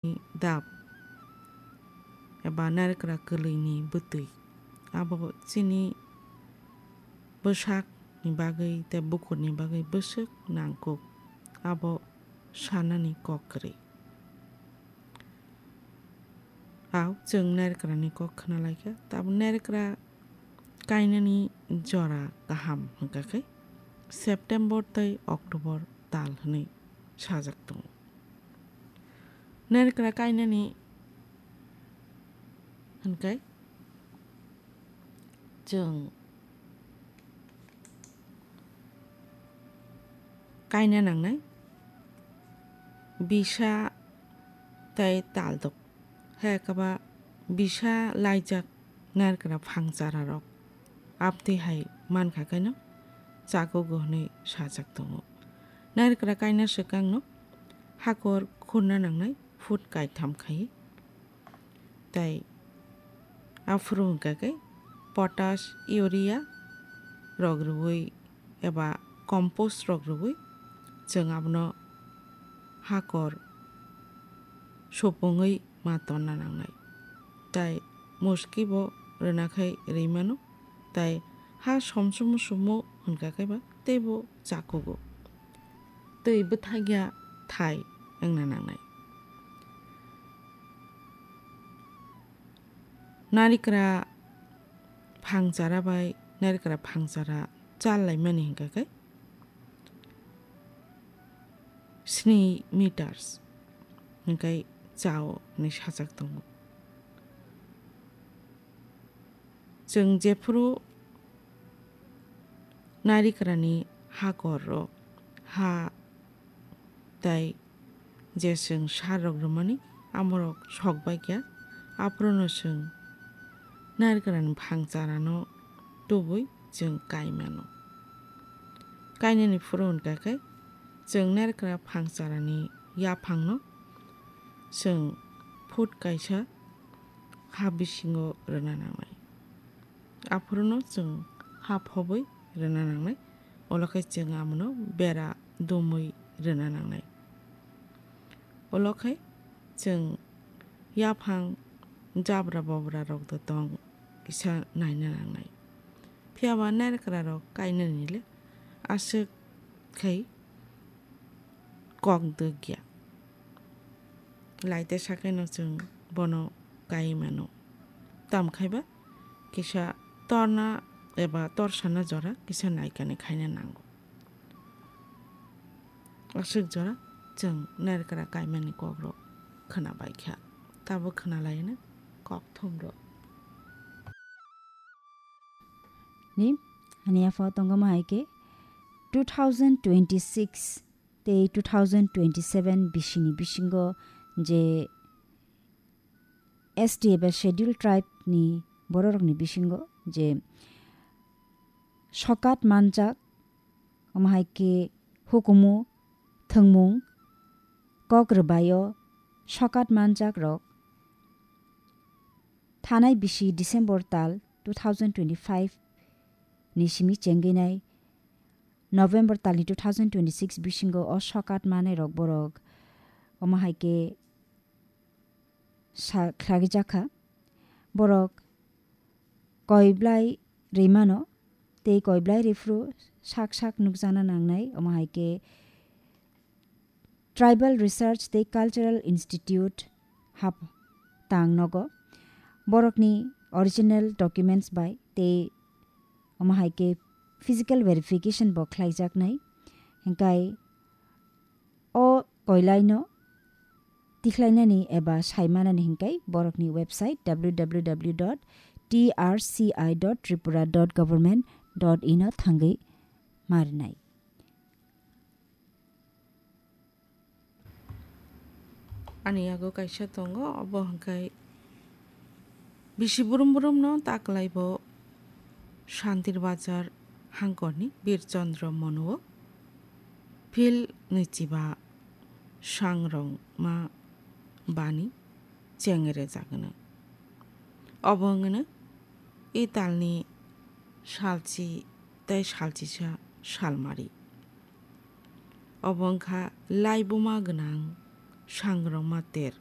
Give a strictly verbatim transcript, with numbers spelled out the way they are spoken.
dap eba narikra kwlwini bwtwi. Abo chini bwsakni bagwi tei bukurni bagwi bwswk nangkuk, abo sanani kok kwrwi. Au chwng narikrani kok khna laikha, tabuk narikra kainani jora kaham hwnkha khe September tei October tal hwnwi sajak tongo. Narikra kainani hwnkhe chwng kaina nangnai bisa tei taldok. Hai khe ba bisa laijak narikra phangchara rok abtwi hai mankha khe no chakugo hwnwi sajak tongo. Narikra kaina swkang no hakor khurna nangnai foot kaitham khai. Tei aphuru hwnkha khe potash, urea rok rwui eba compost rok rwui chwng abono hakor supungwi ma tonna nangnai. Tei muski bo rwna khai rwi mano. Tei ha somsumu sumu hwnkha khe ba teibo chakugo. Twi bwthakya thai wngna nangnai. Narikra phangchara bai narikra phangchara chal laimani hwnkha khe sni meters hwnkhe chao hwnwi sajak tongo. Chwng jephuru narikrani hakor rok ha tei je chwng sar rok rwmani amorok sok bai kha, aphuru no chwng narikrani phangchara no tubui chwng kai mano. Kainani phuru hwnkha khe chwng narikra phangcharani yaphangno chwng foot kaisa ha bisingo rwna nangnai. Aphuruno chwng ha phobwi rwna nangnai. Olo khe chwng amono bera dumwi rwna nangnai. Olo khe chwng yaphang jabra bobra rok do tong kisa naina nangnai. Phiya ba narikra rok kainani le aswk khai kok dwkya. Laite sakheno chwng bono kai mano. Tamo khai ba kisa torna eba torsana jora kisa naikani khaina nango. Aswk jora chwng narikra kaimani kokrok khwna bai kha. Tabuk khwna laino kok thumrok. Ni, ani yapha tongo ma hai khe two thousand twenty-six tei two thousand twenty-seven bisini bisingo je S T eba Scheduled Tribe ni bororokni bisingo je sokat manjak, omo hai khe hukumu thwngmung kok rwbaio sokat manjak rok thanai bisi December tal two thousand twenty-five ni simi chengwi nai November talni two thousand twenty-six bisingo o sokat manai rok borok omo hai khe sa khlagwi jakha. Borok koi blai rwi mano tei koi blai rwi phuru sak sak nukjana nangnai, omo hai khe Tribal Research tei Cultural Institute hap tang nogo. Borokni original documents bai tei omo hai khe physical verification bo khlaijaknai. Hinkhe o koilaino tikhlainani eba saimanani hinkhe borokni website W W W dot T R C I dot tripura dot government dot in o thangwi marinai. Ani yago kaisa tongo, obo hwnkhe bisi brum brumno taklai bo Shantir Bazar hangkorni Bir Chandra Monuo phil ni chiba sangrongma bani chengre jagwno. Obo wngno italni salchi tei salchisa salmari. Obo wngkha laibuma gwnang sangrongma ter